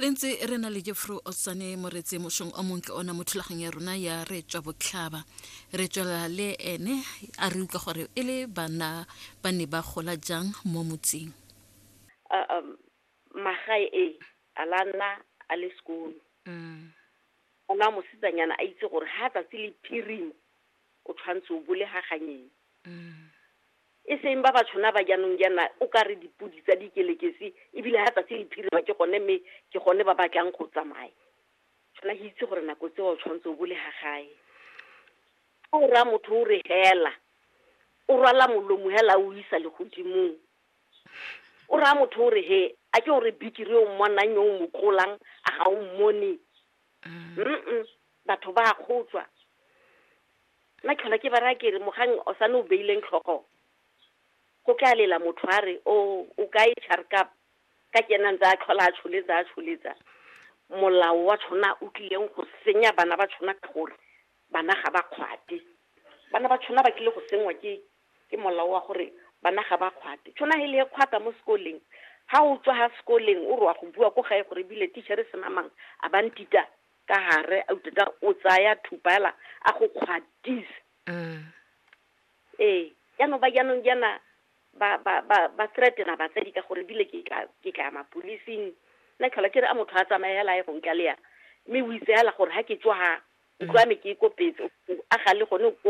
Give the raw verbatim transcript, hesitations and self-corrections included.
Re ntse re na le Jeffro Otsane Moretse mošong o montle ona mo thulaganyo ya rona ya Re Tswa Botlhaba. Re tswelela le ene a re utlwa gore e le bana ba ne ba gola jang mo motseng. Uh, um, magae e a la nna a le sekolo. Mm. Ona mosetsanyana a itse gore ha tsatsi le phirima o tshwanetse o bole ga ganyeng. Mm. E seng ba ba tshwana ba jaanong jaana o ka re dipodi tsa dikelekesi ebile ha tsatsi le phirima ke gone mme ke gone ba batlang go tsamaya. Tshwana ke itse gore nako tseo o tshwanetse o bole ga gae. Fa o raya motho o re hela, o rwala molomo hela o isa legodimong. O raya motho o re he, a ke o re bikiri o mmonang yo o mo tlolang a ga o mmone. Mm. Mm-mm, batho ba a kgotswa. Nna ke tlhola ke ba raya ke re mogang o sane o beileng tlhogo, go tla lela motho a re o o kae Charkap, ka ke ena ntse a tlhola a tsholetsa a tsholetsa. Molao wa tshwana o tlileng go senya bana ba tshwana ka gore bana ga ba kgwate. Bana ba tshwana ba tlile go sengwa ke, ke molao wa gore bana ga ba kgwate. Tshwana he le e kgwata mo sekoleng, ha o tswa ha sekoleng o re wa go bua ko gae gore ebile teacher se namang a ba ntita ka hare a uteta o tsaya thupa hela a go kgwatisa. Mm. Ee, jaanong ba jaanong jaana ba, ba, ba, ba threatena batsadi ka gore ebile ke tla, ke tla mapolising. Nna ke tlhola ke re a motho a tsamaye hela a ye go ntlaleya, mme o itse hela gore ha ke tswa ha, ntlo ya me ke e kopetse, a ga le gone ko